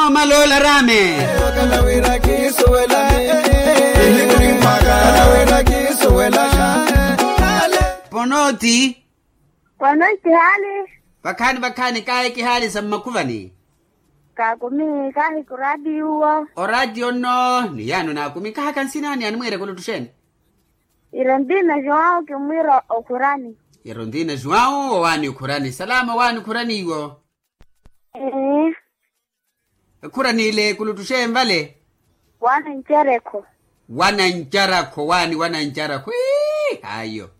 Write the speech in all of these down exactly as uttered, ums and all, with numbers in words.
Omalola rame. Ponoti. Ponoti hali. Vakhani vakhani kahi kihali sa mmakhuvani. Kakumi kahi kuradiyo. Oradiyo nno ni yaano nakumi kahaka nsinani animwiire kulutuxeni. Irondina juwau kimwiira okhurani. Irondina juwau owaani okhurani salama owaani okhurani iwo. Ekhurani ile kulutuxeni vale. Wanancarakho. Wanancarakho waani wanancarakho. Ayo.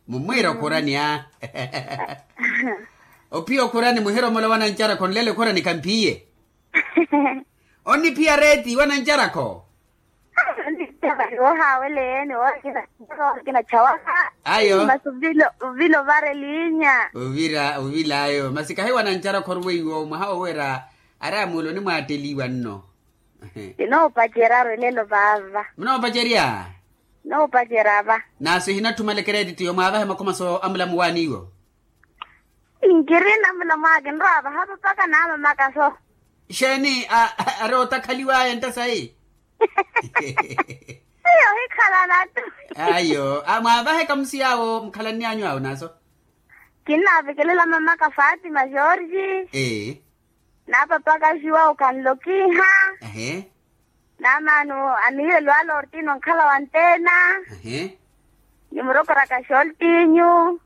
Mumwiira okhurani a. Ophiya okhurani muhiromola wanancarakho nlelo ekhurani khamphiye. Onniphiya reeti wanancarakho. Wohaweleeni wokinachawaka. Ayo. Masi ovila ovara elinya. Ovira ovila ayo masi kahi wanancarakho oruweiwo mwaha wowera. Ari amuula onimwaatteliwa nno. Kinoopacerya arwelelo vaava. Munoopacerya. Noopacerya va. Naaso ehinatthumale kereetittiyo mwaavahe makhomaso amulamu waaniiwo. Nkiri namulamu ake nrowa vahapa mpaka naamamakaso. Xeeni ari otakhaliwaya ntta sayi. Iyo ohikhalanattu. Ayo mwaavaheka musiyaawo mukhalanny'anyu awo naaso. Kinnaavekelela mamaka fatima jorge. Ee. Naapapaka juwau kanlokiha. Naamaano anihiye lwala ortino nkhala wa ntena. Nimurokoraka xoltinyu.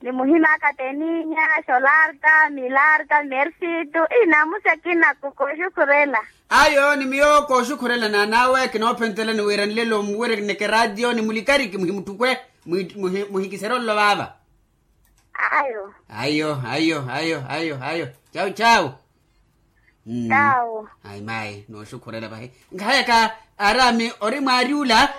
Nimuhimaka teninya xolarta milarta mersitu. Inamusi akina kooxukhurela. Ayo ni miyo kooxukhurela naanawe kinoophentelani wira nlelo muwireke ratio ni mulikariki muhimutthukwe. Muhikiserye ololo vaava. Ayo ayo ayo ayo ayo ayo. Chau chau. Chau. Ayi mayi nooxukhurela vahi. Nkahayaka arami ori mwaari ula.